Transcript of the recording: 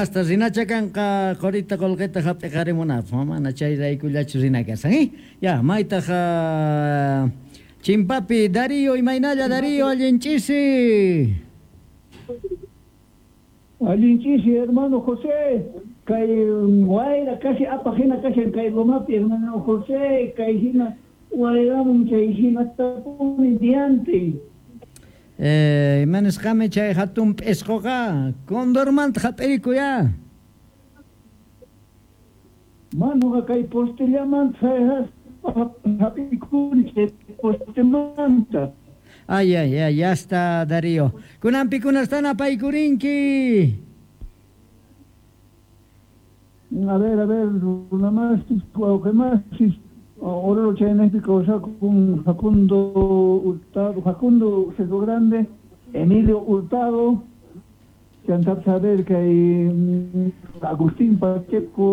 Yasta rinacha kanqa qorita qolqeta hap'iqarimunapaq, mana chayraykullachu rina kashan, eh? Ya, maytaq chimpapi Darío, imaynalla Darío, allin ch'isi. Allin ch'isi, hermano José, kay wayra casi apaq hina kashan kay lomapi, hermano José, kay hina wayramun chay hinatapuni diante. Ima nisqami chay hatun p'isqoqa condormanta hap'irikuy ya. Manoqa kay postellamanta hap'ikuni chay postemanta. Ay, ay, ay, ya está, Darío. Kunan pikunastan apaykurinki? A ver, a ver, runamasis, wawqimasis, Oruro chaynejpi kawsakun Facundo Hurtado, Facundo Cerro Grande, Emilio Hurtado, chantapis a ver kay Agustín Pacheco.